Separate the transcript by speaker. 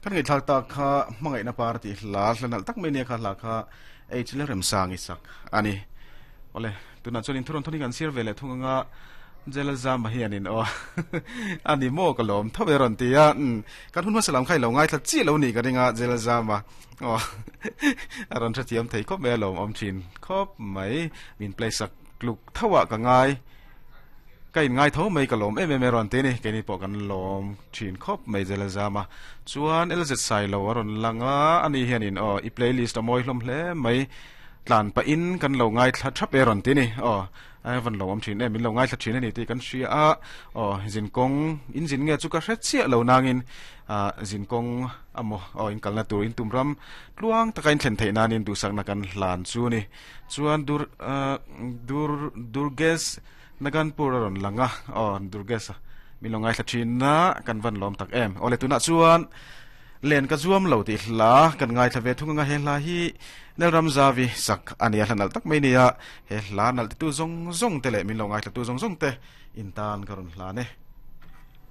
Speaker 1: Kan ngaihthlak tak kha hmangaihna par tih hla hla nalh tak mai nia kha hla kha H leh Remsang i sak a ni. Awle, tunah chuan inthuron thawnin kan sir ve leh thung anga Jela Zama hianin aw a ni maw ka lawm tho e rawn ti a, umm kan hun hmasa lam kha i lo ngaithla chiah lo nih ka ring a Jela Zama aw a rawn hrethiam thei khawp mai a lawmawm thin khawp mai min play sak tluk tho ah ka ngai. Ka inngai tho mai ka lawm em em e rawn ti a ni. Keini pawh kan lawm thin khawp mai Zela Zama. Chuan LZ Sailo a rawn lang a, ani hianin aw i playlist a mawi hlawm hle mai tlan pahin kan lo ngaithla thap e rawn ti a ni. Aw a van lawmawm thin em, min lo ngaithla thin a ni tih kan hria a. Aw zinkawng in zin nge chu ka hre chiah lo nangin ah zinkawng amaw aw in kalna tur in tum ram tluang taka in thlen theih nanin duhsakna kan hlan chu a ni. Chuan dur ah dur Durgesh Naganpur a rawn lang a, aw Durgesh a min lo ngaithla thin a, kan van lawm tak em. Awle tunah chuan len ka zuam lo tih hla kan ngaithla ve thung anga he hla hi Nelram Zavi sak a nia hla nalh tak mai nia, he hla nalh titu zawng zawng te leh min lo ngaithla tu zawng zawng te in tan ka rawn hlan e.